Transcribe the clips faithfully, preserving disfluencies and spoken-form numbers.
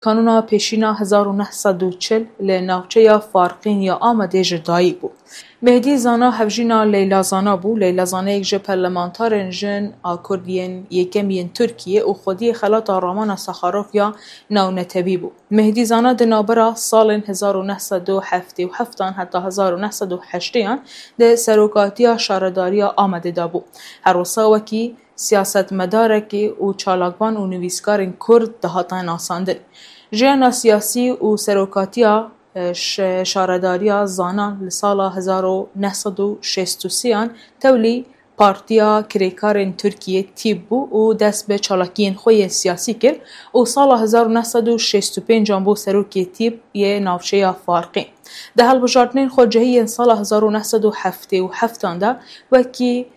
Kanûna pêşîna hezar û neh sed û çil li navçeya Farqîn ya Amedê ji dayik bû. Mehdî Zana hevjîna Leyla Zana bû. Leyla Zana yek ji parlamentarên jin a Kurd yên yekem yên Tirkiyê û xwediyê xelata Ramana Saxarov ya navnetewî bû. Mehdî Zana di navbera salên hezar û neh sed û heftê û heft an heta hezar û neh sed û heştê an di serokatiya şaredariya Amedê de bû. Her wisa wekî siyasetmedarekî û çalakvan û nivîskarên Kurd dihate nasandin. Jiyana siyasî û serokatiya, e, ş-, şaredariya Zana li sala hezar û neh sed û şêst û sê an tewlî Partiya Kirêkarên Tirkiyê, tîp, bû û dest bi çalakiyên xwe yên siyasî kir û sala hezar û neh sed û şêst û pênc an bû serokê tîp yê navçeya Farqîn. Di hilbijartinên xwecihî yên sala hezar û neh sed û heftê û heft an de wekî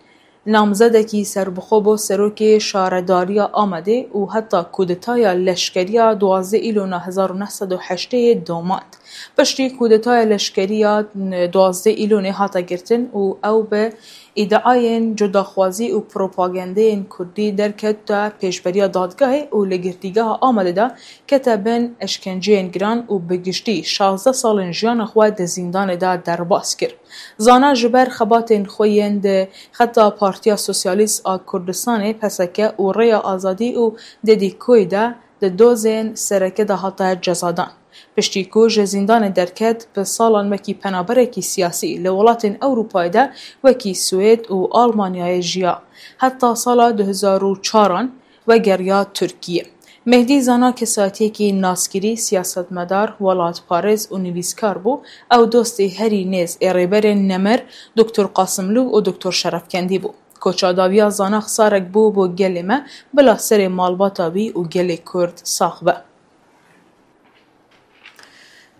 namzedekî serbixwe bû serokê şaredariya Amedê û heta kudetaya leşkeriya duwazdeh Îlona hezar û neh sed û heştê domand. Piştî kudetaya leşkerî ya duwazdeh Îlonê hate girtin û ew bi îdiayên cudaxwazî û propagandeyên kurdî derkete pêşberiya dadgehê û li girtîgeha Amedê de kete bin eşkenceyên giran û bi giştî şazdeh salên jiyana xwe di zîndanê de derbas kir. Zana ji ber xebatên xwe yên di xeta Partiya Sosyalîst a Kurdistanê, P S K, û Rêya Azadî û D D K'yê de di dozên sereke de hate cezadan. Piştî ku ji zîndanê derket, bi salan wekî penaberekî siyasî li welatên Ewropayê de wekî Swêd û Almanyayê jiya. Heta sala du hezar û çar an vegeriya Tirkiyê. Mehdî Zana kesayetiyekî naskirî, siyasetmedar, welatparêz û nivîskar bû. Ew dostê herî nêz ê Rêberên Nemir, Doktor Qasimlû û Doktor Şerefkendî bû. Koça dawiya Zana xisarek bû bo gelê me, bila serê malbata wî û gelê Kurd sax be.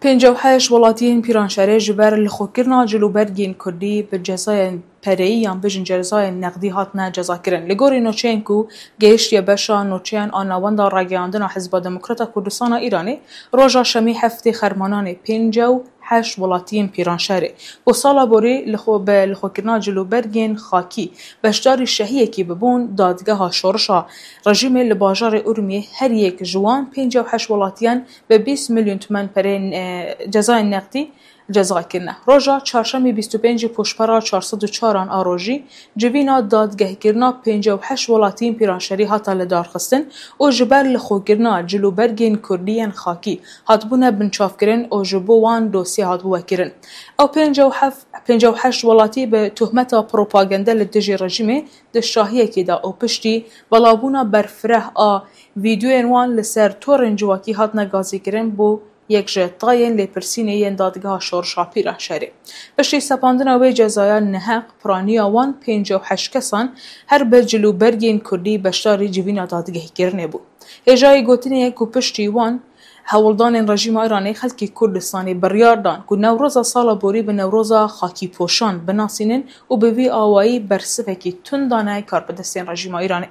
Pêncî û heşt welatiyên Pîranşerê ji ber lixwekirina cilûbergên Kurdî bi cezayên pereyî yan bijin cezayên nexdî hatine cezakirin. Li gorî nûçeyên ku gehiştiye beşa nûçeyan a Navenda Ragihandina Hizba Demokrata Kurdistana Îranê, roja Şemî heftê Xermananê pêncî û heşt welatiyên Pîranşerê ku sala borî li xwe bi lixwekirina cilûbergên xakî beşdarî şehiyekî bibûn, dadgeha şorişa rejîmê li bajarê Urmiyê her yek ji wan pêncî û heşt welatiyan bi bîst milyon tûmen pereyên, e, cezayên nexdî ceza kirine. Roja çarşemê bîst û pêncê Pûşpera çar sed û çar an a rojî civîna dadgehkirina pêncî û heşt welatiyên Pîranşerî hate lidarxistin û ji ber lixwekirina cilûbergên Kurdî yên xakî hatibûne binçavkirin û ji bo wan dosye hatibû vekirin. Ew pêncî û heft, pêncî û heşt welatî bi tohmeta propagande li dijî rejîmê di şahiyekê de û piştî belavbûna berfireh a vîdeoyên wan li ser torên civakî hatine gazîkirin, bû yek ji tayên lêpirsînê yên dadgeha şorişa Pîranşerê. Piştî sepandina wê cezaya neheq, piraniya wan pêncî û heşt kesan her bi cilûbergên Kurdî beşdarî civîna dadgehîkirinê bû. Hêjayî gotinê ye ku piştî wan hewldanên rejîma Îranê xelkê Kurdistanê biryar dan ku Newroza sala borî bi Newroza xakîpoşan binasînin û bi vî awayî bersivekî tund dane karbidestên rejîma Îranê.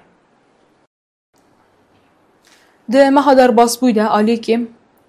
Di meha derbasbûyî de alî kêm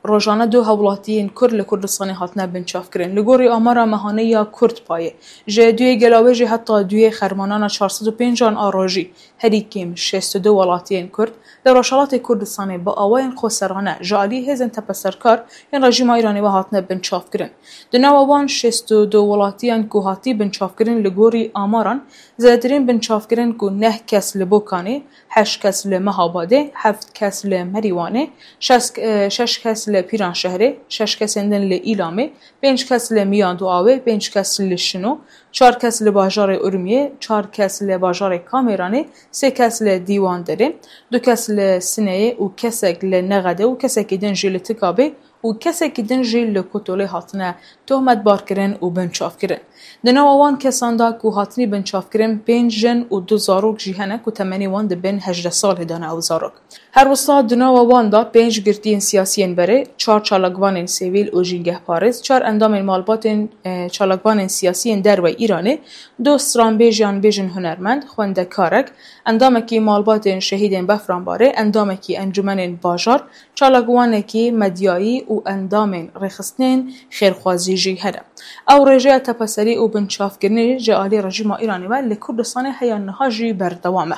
rojane du hewlatiyên Kurd li Kurdistanê hatine binçavkirin. Li gorî amara mehane ya Kurdpayê, ji duyê Gelawêjê heta duyê Xermanana çar sed û pênc an a rojî, herî kêm şêst û du welatiyên Kurd li Rojhelatê Kurdistanê bi awayên xweserane ji alî hêzên tepeserkar yên rejîma Îranê ve hatine binçavkirin. Di nava wan şêst û du welatiyan ku hatî binçavkirin, li gorî amaran, zêdetirîn binçavkirin ku neh kes li Bokanê, heşt kes li Mehabadê, heft kes li Merîwanê, şeş, e, şeş kes li Pîranşehrê, şeş kesên din li Îlamê, pênc kes li Miyanduawê, pênc kes li Şino, çar kes li bajarê Urmiyê, çar kes li bajarê Kamêranê, sê kes li Dîwanderê, du kes li Sineyê û kesek li Nexedê û kesekî din jî li Tikabê û kesekî din jî li Kotolê hatine tohmetbarkirin û binçavkirin. Di nava wan kesan de ku hatine binçavkirin, pênc jin û du zarok jî hene ku temenê wan di bin hejdeh salê de ne ew zarok. Her wisa di nava wan de pênc girtiyên siyasiyên berê, çar çalakvanên sivîl û jîngehparêz, çar endamên malbatên, e, çalakvanên siyasiyên dervey Îranê, du stranbêj yan bêjin hunermend, xwendekarek, endamekî malbatên şehîdên Befranbarê, endamekî encûmenên bajar, çalakvanekî medyayî û endamên rêxistinên xêrxwazî jî hene. Ew rêjeya tepeserî û binçavkirinê ji alî rejîma Îranê ve li Kurdistanê heya niha jî berdewam e.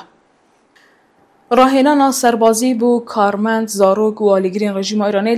Rahênana serbazî bo karmend, zarok û alîgirên rejîma Îranê